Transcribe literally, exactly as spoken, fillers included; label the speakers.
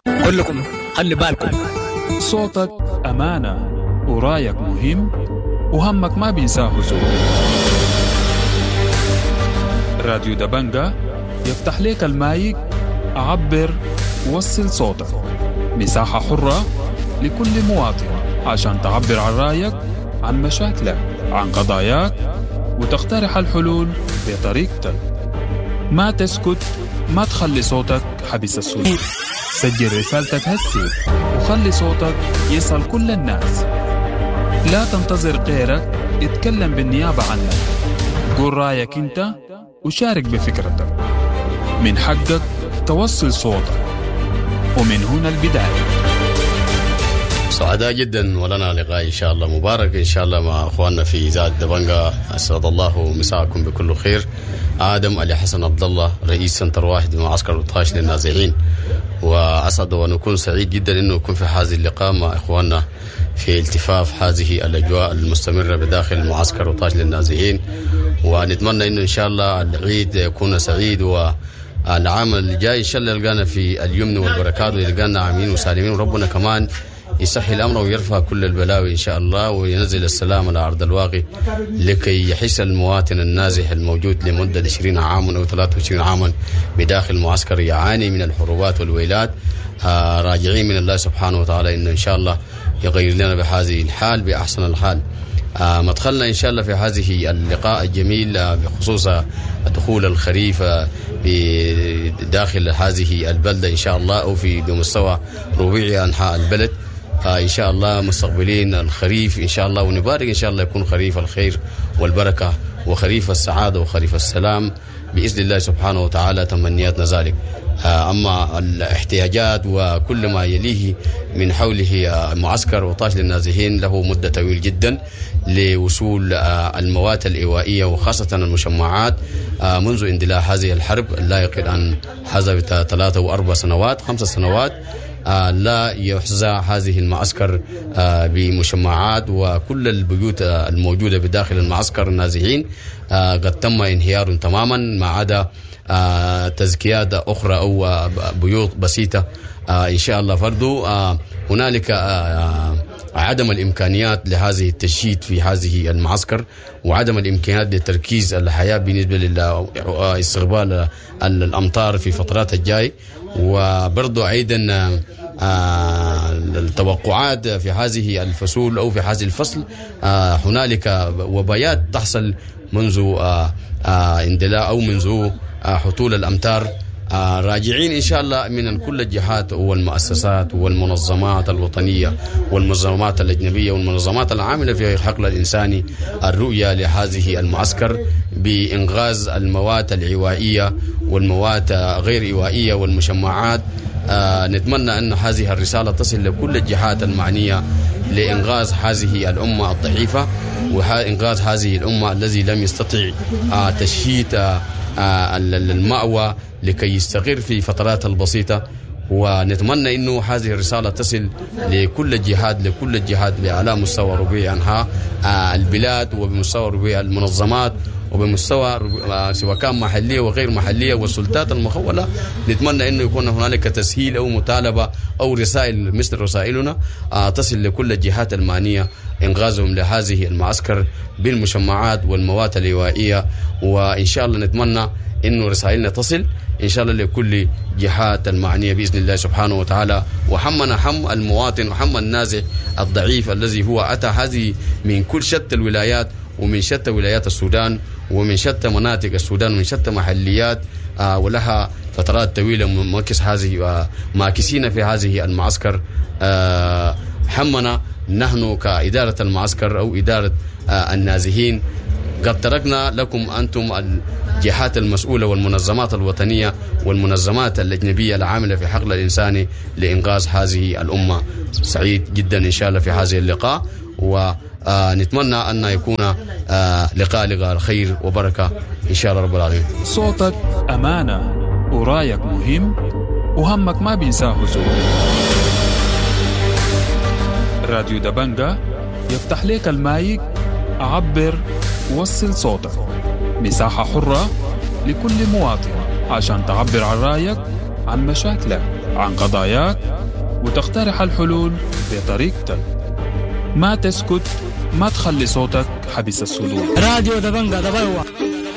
Speaker 1: كلكم خلي بالكم.
Speaker 2: صوتك أمانة ورايك مهم وهمك ما بينساه زول. راديو دبنجة يفتح لك المايك، عبر وصل صوتك، مساحة حرة لكل مواطن عشان تعبر عن رأيك، عن مشاكلك، عن قضاياك، وتقترح الحلول بطريقتك. ما تسكت، ما تخلي صوتك حبس الصوت. سجل رسالتك هسي وخلي صوتك يصل كل الناس. لا تنتظر غيرك يتكلم بالنيابة عنك. قول رأيك انت وشارك بفكرتك. من حقك توصل صوتك، ومن هنا البداية.
Speaker 3: سعداء جدا ولنا لقاء إن شاء الله مبارك إن شاء الله مع أخواننا في إذاعة دبنجة. أسعد الله مساءكم بكل خير. آدم علي حسن عبد الله، رئيس سنتر واحد بمعسكر وطاش للنازحين، وأسعد ونكون سعيد جدا إنه نكون في هذه اللقاء مع إخواننا في التفاف هذه الأجواء المستمرة بداخل معسكر وطاش للنازحين، ونتمنى إنه إن شاء الله العيد يكون سعيد، و العام الجاي إن شاء الله يلقانا في اليمن والبركات، ويلقانا عامين وسالمين، وربنا كمان يسهل الأمر ويرفع كل البلاوي إن شاء الله، وينزل السلام على أرض الواقع لكي يحس المواطن النازح الموجود لمدة عشرين عاما أو ثلاثة وعشرين عاما بداخل المعسكر يعاني من الحروبات والويلات. آه راجعين من الله سبحانه وتعالى إنه إن شاء الله يغير لنا بهذه الحال بأحسن الحال. آه مدخلنا إن شاء الله في هذه اللقاء الجميل آه بخصوص دخول الخريف آه بداخل هذه البلدة إن شاء الله، أو في بمستوى ربيع أنحاء البلد. آه إن شاء الله مستقبلين الخريف إن شاء الله، ونبارك إن شاء الله يكون خريف الخير والبركة وخريف السعادة وخريف السلام بإذن الله سبحانه وتعالى، تمنياتنا ذلك. أما الاحتياجات وكل ما يليه من حوله معسكر وطاش للنازحين له مدة طويلة جدا لوصول المواد الإيوائية وخاصة المشمعات منذ اندلاع هذه الحرب لا يقل عن هذا ثلاثة وأربع سنوات خمس سنوات لا يحظى هذه المعسكر بمشمعات، وكل البيوت الموجودة بداخل المعسكر النازحين قد تم انهيار تماما ما عدا تزكيات أخرى أو بيوت بسيطة إن شاء الله. فرضو هنالك عدم الإمكانيات لهذه التشييد في هذه المعسكر، وعدم الإمكانيات لتركيز الحياة بالنسبة لاستقبال الأمطار في فترات الجاي، وبرضو أيضا التوقعات في هذه الفصول أو في هذه الفصل هنالك وبايات تحصل منذ اندلاع أو منذ حطول الأمطار. راجعين إن شاء الله من كل الجهات والمؤسسات والمنظمات الوطنية والمنظمات الأجنبية والمنظمات العاملة في الحقل الإنساني الرؤية لهذه المعسكر بإنغاز المواد العوائية والمواد غير عوائية والمشمعات. نتمنى أن هذه الرسالة تصل لكل الجهات المعنية لإنغاز هذه الأمة الضعيفة وإنغاز هذه الأمة الذي لم يستطع تشييد المأوى لكي يستقر في فترات البسيطة. ونتمنى أنه هذه الرسالة تصل لكل الجهات لكل الجهات على مستوى ربيع أنحاء البلاد وبمستوى ربيع المنظمات وبمستوى سواء كان محلية وغير محلية والسلطات المخولة. نتمنى أنه يكون هنالك تسهيل أو مطالبة أو رسائل مثل رسائلنا تصل لكل الجهات المعنية إنغازهم لهذه المعسكر بالمشمعات والمواد اللوائية. وإن شاء الله نتمنى أنه رسائلنا تصل إن شاء الله لكل جهات المعنية بإذن الله سبحانه وتعالى. وحمنا حم المواطن وحم النازح الضعيف الذي هو أتى هذه من كل شتى الولايات ومن شتى ولايات السودان ومن شتى مناطق السودان ومن شتى محليات، آه ولها فترات طويلة ماكس هذه آه ماكسين في هذه المعسكر. آه حمنا نحن كإدارة المعسكر أو إدارة آه النازحين قد تركنا لكم أنتم الجهات المسؤولة والمنظمات الوطنية والمنظمات الأجنبية العاملة في حقل الإنساني لإنقاذ هذه الأمة. سعيد جدا إن شاء الله في هذه اللقاء، ونتمنى أن يكون لقاء لقاء الخير وبركة إن شاء الله رب العالمين.
Speaker 2: صوتك أمانة ورايك مهم وهمك ما بينساه زول. راديو دبنجة يفتح لك المايك، عبر وصل صوتك، مساحة حرة لكل مواطن عشان تعبر عن رأيك، عن مشاكلك، عن قضاياك، وتقترح الحلول بطريقتك. ما تسكت، ما تخلي صوتك حبس الصدور.
Speaker 1: راديو دبنجا دبنجا.